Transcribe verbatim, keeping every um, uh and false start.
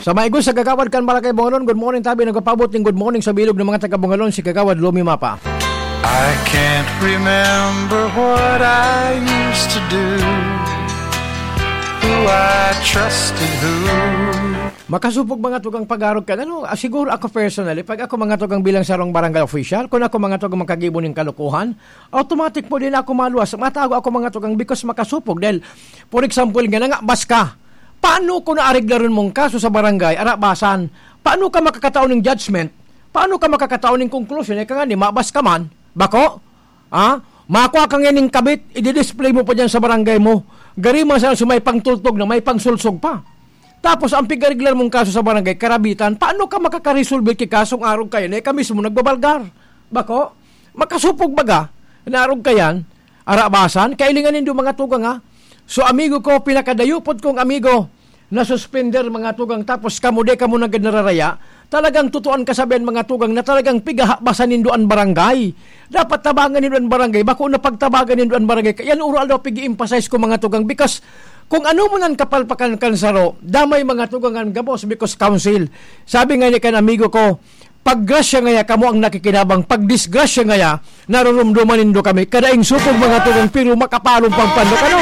Tamayo sa Kagawad kan Barangay Bungalon. Good morning, tabi. Nagpapaabot ning good morning sa bilog ng mga taga Bungalon, si Kagawad Lomi Mapa. I can't remember what I used to do, who I trusted, who. Makasupog mga tugang pag-arog ka. Ano, ah, siguro ako personally, pag ako mga tugang bilang sarong barangay official, kung ako mga tugang makagibo ning kalokohan, automatic po din ako maluwas. Matago ako mga tugang because makasupog. Dahil, for example, nga nangabas ka, paano ko naareglaron mong kaso sa barangay, arabasan? Paano ka makakatao ng judgment? Paano ka makakatao ng conclusion? Eh, ka nga ni, mabas ka man. Bako? Ha? Makwa ka ngayon ng kabit, i-display mo pa dyan sa barangay mo. Gari man sana sumay pang tultog na may pangsulsog pa. Tapos, ang pigareglar mong kaso sa barangay, karabitan, paano ka makakaresolve ki kasong arog kayan? Eh, ka mismo nagbabalgar. Bako? Makasupog baga, na arog kayan, arabasan, kailingan nindo mga tugang, ha? So, amigo ko, pinakadayupod kong amigo, na suspender mga tugang, tapos kamo, di kamo nagad nararaya, talagang tutuan kasabihan mga tugang na talagang pigahabasan nindo an barangay. Dapat tabangan nindo an barangay, bako na pagtabangan nindo an barangay. Yan uro aldaw pig-emphasize ko mga tugang, because kung ano man ang kapalpakan kan saro, damay mga tugang an gabos because council. Sabi nga ni kan amigo ko, pag grasya ngaya kamo ang nakikinabang, pag disgrasya ngaya, narurumduman nindo kami. Kadaing supog mga tugang, pero makapalong pagpandok. Ano?